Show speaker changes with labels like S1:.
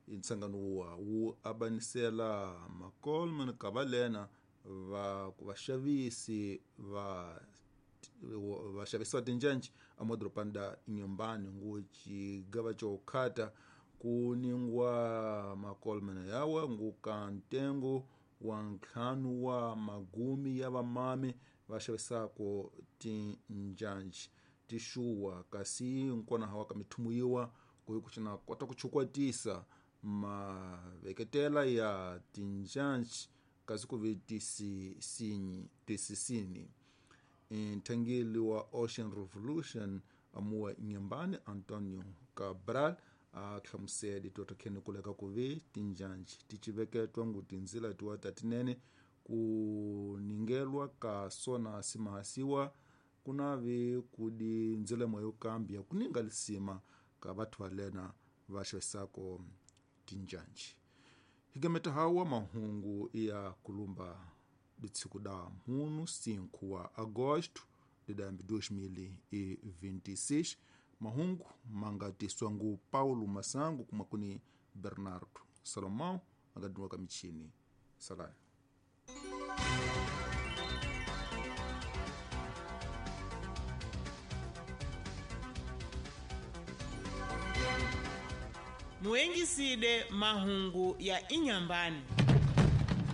S1: Ntsangano wa wu abanisela makolman kavalena va vaxavisi va vaxavisi va tinjhanjhi amadorobani da Inhambane ngu xigava xo khata ku ningwa makolman yawa ngu ka ntengo wa ntlhanu wa magumi ya vamami va xavisako tinjhanjhi tixuwa kasi nkona hawa ka mithumu yiwa ku kuxina kota ku chukwatisa maveketela ya tinjhanjhi kasi ku ve tisisini. Nthangeli wa Ocean Revolution amuwa Inhambane Antonio Cabral a hlamusele toto khene kuleka ku ve tinjhanjhi ti civeketwa ngu tindzila tiwa tatinene ku ningelwa ka sona simahasiwa kuna ve kudi ndzila moyo kambi ya kuninga lisima ka batho valena va xavisako tinjhanjhi. Higameta hawa mahungu ya kulumba ditshiku da mhunu 5 wa agosto de 2026. Mahungu mangatiswa ngu Paulo Masangu kuma kuni Bernardo Salomão angadiniwa ka michini salani.
S2: Muengiside mahungu ya Inhambane.